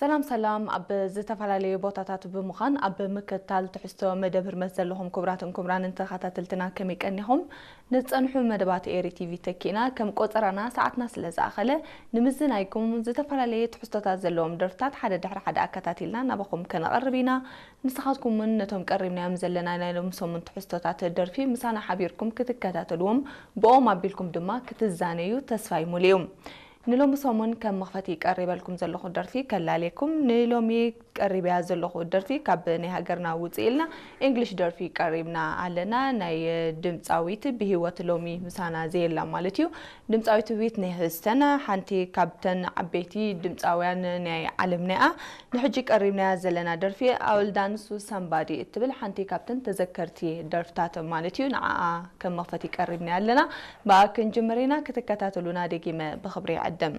ሰላም ሰላም፣ ኣብ ዝተፈላለዩ ቦታታት ብምዃን ኣብ ምክትታል ትሕዝቶ መደብ ህርመት ዘለኹም ክቡራትን ክቡራንን ተኸታተልትና ከመይ ቀኒኹም? ንዝጸንሑ መደባት ኤሪ ቲቪ ተኪእና፣ ከም ቆጸራና ሰዓትና ስለ ዝኣኸለ፣ ንምዝናይኩም ዝተፈላለየ ትሕዝቶታት ዘለዎም ደርፍታት ሓደ ድሕሪ ሓደ ኣከታቲልና ናባኹም ከነቐርብ ኢና። ንስኻትኩም እውን ነቶም ቀሪብናዮም ዘለና ናይ ሎሚ ሰሙን ትሕዝቶታት ደርፊ ምሳና ሓቢርኩም ክትከታተልዎም፣ ብኦም ኣቢልኩም ድማ ክትዛነዩ ተስፋይ ሙሉ እዩ። ንሎሚ ሰሙን ከም መኽፈቲ ቀሪበልኩም ዘለኹ ደርፊ ከላልየኩም። ንሎሚ ቀሪበያ ዘለኹ ደርፊ ካብ ናይ ሃገርና ውፅእ ኢልና እንግሊሽ ደርፊ ቀሪብና ኣለና። ናይ ድምፃዊት ብህይወት ሎሚ ምሳና ዘየላ ማለት እዩ። ድምፃዊት ዊትኒ ሂውስተን ሓንቲ ካብተን ዓበይቲ ድምፃውያን ናይ ዓለምና እያ። ንሕጂ ቀሪብናያ ዘለና ደርፊ ኣውል ዳንሱ ሳምባዲ እትብል ሓንቲ ካብተን ተዘከርቲ ደርፍታት ማለት እዩ። ንዓኣ ከም መኽፈቲ ቀሪብናያ ኣለና። ብኣ ክንጅምር ኢና። ክትከታተሉና ደጊመ ብኽብሪ ይዕድም።